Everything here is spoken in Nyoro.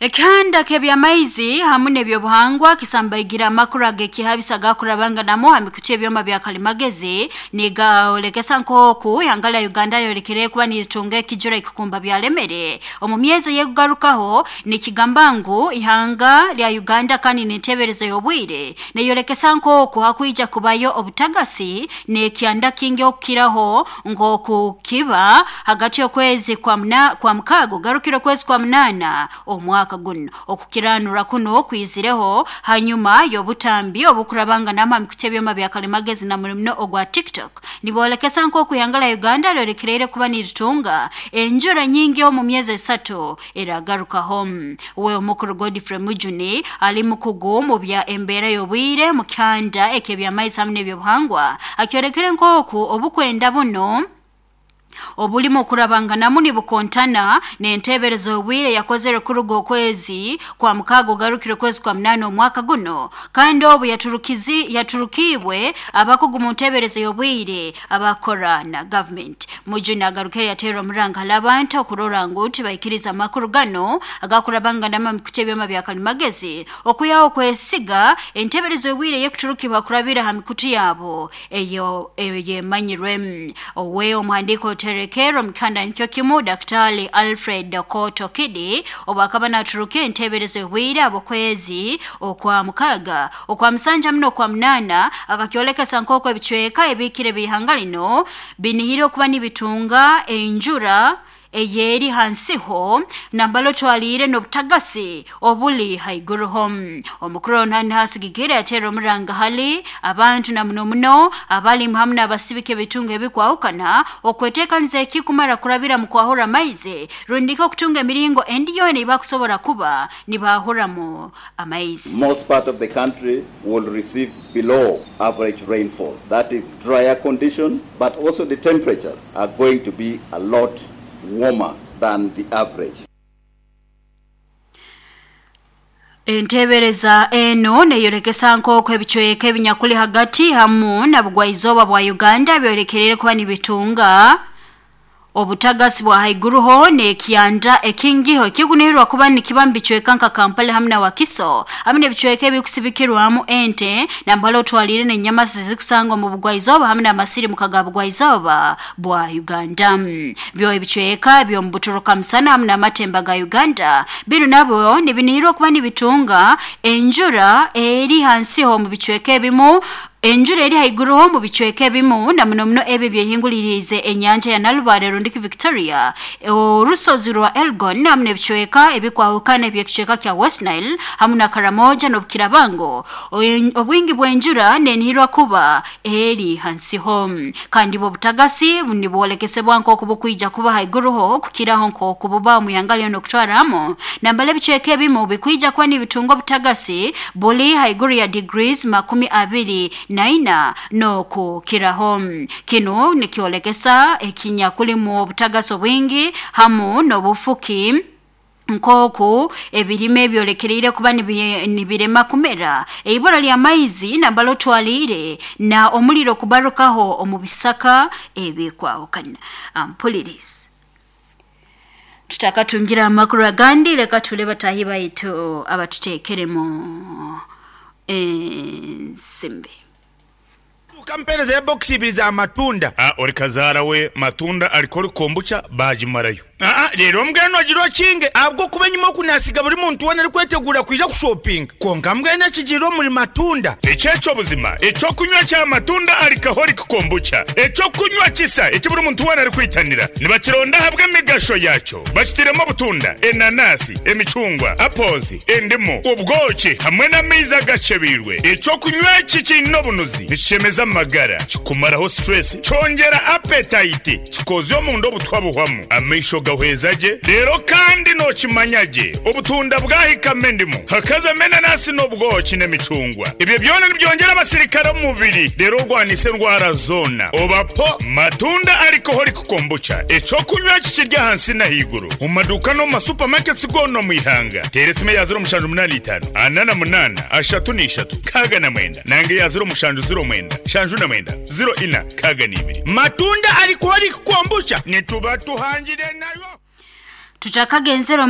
Ekihanda ky'ebyamaizi hamu n'ebyobuhangwa kisambaigira amakuru ag'ekihabisa agakurabanganamu ha mikutu y'ebyoma bya kalimagezi nigaolekesa nk'oku ihanga lya Uganda lyolekere kuba niritunga ekijura ekikumba byalemere omu myezi ey'ekugarukaho. Nikigamba ngu ihanga lya Uganda kandi n'enteberezo y'obwire neyolekesa nk'oku hakwija kubayo obutagasi n'ekyanda kingi okukiraho nk'oku kiba hagati y'okwezi kwa mukaaga ogarukire okwezi kwa munaana omwaka guno. Okukiranura kuno kwizireho hanyuma y'obutambi obukurabanganamu ha mikutu y'ebyoma bya kalimagezi na muno ogwa TikTok nibolekesa nk'oku ihanga lya Uganda lyolekereire kuba niritunga enjura nyingi omu myezi 3 eragarukaho. We omukuru Godfrey Mujuni ali mukugu mu bya embeera y'obwire mu kyanda eky'ebyamaizi hamu n'ebyobuhangwa akyolekere nk'oku obukwenda buno obulimu okurabanganamu nibukontana n'enteberezo y'obwire yakozere kuruga okwezi kwa mukaaga ogarukire okwezi kwa munaana omwaka guno, kandi obu yaturukiibwe abakugu mu nteberezo y'obwire abakora na gavumenti. Mujuni agarukire yateera omuranga hali abantu okurora ngu tibaikiriza amakuru gano agakurabanganamu ha mikutu y'ebyoma bya kalimagezi okwihaho okwesiga enteberezo y'obwire ey'ekuturukibwa kurabira ha mikutu yabo eyo eyemanyirwe. Owe omuhandiiko oterekero mukanda nikyo kimu Daktari Alfred Koto Kidi obu akaba naturuka enteberezo y'obwire abokwezi okwa mukaaga okwa musanja muno okwa munaana akakyolekesa nk'oku ebicweka ebiikire b'ihanga lino binihire okuba nibitunga enjura eyeri hansiho nambala otwaliire n'obutagasi obuli haiguruho. Omukuru ono hasigikire yateera omuranga hali abantu na muno muno abalimu hamu n'abasibika ebitunga ebikwahukana okweteekaniza ekikumara kurabira mu kwahura amaizi rundika okutunga emiringo endi yoona eibakusobora kuba nibahuramu amaizi. Most part of the country will receive below average rainfall. That is drier condition, but also the temperatures are going to be a lot warmer than the average. Entebereza eno neyorekesa nk'oku ebicweka ebinyakuli hagati hamu na bugwaizooba bwa Uganda byolekerere kuba nibitunga obutagasi bwa haiguruho n'ekyanda ekingiho ekigunirwa kuba nikiba mu bicweka nka Kampala hamu na Wakiso hamu n'ebicweka ebikusibikirwamu ente nambala otwalire n'enyamasi zikusanga omu bugwaizooba hamu n'amasiri mu kaga bugwaizooba bwa Uganda. Byo ebicweka by'omu buturuka musana hamu n'amatemba ga Uganda binu nabyo nibinihirwa kuba nibitunga enjura eri hansiho mu bicweka ebimu, enjura eri haiguruho mu bicweka ebimu na muno muno ebyo byehinguliriize enyanja ya Nalubale rundiki Victoria, orusozi rwa Elgon hamu n'ebicweka ebikwahukana eby'ekicweka kya West Nile hamu na Karamoja n'Obukirabango. Obwingi bw'enjura nenihirwa kuba eri hansiho, kandi bwo obutagasi nibwolekesebwa nk'oku bukwija kuba haiguruho kukiraho nk'oku buba omu ihanga lyona okutwaramu nambala ebicweka ebimu bikwija kuba nibitunga obutagasi buli haiguru ya degrees 24 n'okukiraho. Kinu nikyolekesa ekinyakulimu obutagasi obwingi hamu n'obufuki nk'oku ebirime byolekereire kuba nibirema kumera, eibura ly'amaizi nambala otwaliire na omuliro kubarukaho omu bisaka ebikwahukana. Mpuliriza tutakatungira amakuru agandi, leka tule batahi baitu abatuteekeremu ensimbi. Tukampeereza ya bokisi ibiri za matunda. A Ori kazaara we matunda ariko ori kombucha baagimarayo. Aa Reero mbwenu ogire okinge ahabw'okuba enyima oku naasiga buri muntu weena arikweteguura kwija kushopinga. Kwonka mbwenu ekigiire omuri matunda. Eky'ekyo buzima, eky'okunywa kya matunda alcoholic kombucha, eky'okunywa kisa eki buri muntu weena arikwitanira. Nibakironda ahabw'emigasho yaakyo. Bakitairemu obutunda, enanasi, emicungwa, apples, endimu, obwoki hamwe n'amaizi agakyebeirwe. Eky'okunywa eki kiine obunuzi, nikishemeza amagara, kikumaraho stress, kyongyera appetite, kikoozya omunda obutwa buhwamu, amaisho gahweza gye, reero kandi nookimanya gye obutunda bwahikamu endimu, hakazamu enanasi n'obwoki n'emicungwa. Ebyo byona nibyongyera abasirikare omu mubiri reero orwanise endwara zoona. Oba po Matunda Alcoholic Kombucha, eky'okunywa eki kiri ahansi n'ahaiguru omu maduuka n'omu ma supermarkets goona omu ihanga. Teera esimu eya 0785 48 33 69 nanga eya 0709 79 04 62. Matunda Alcoholic Kombucha. Nituba tuhangire nayo. Tutakagenzere omu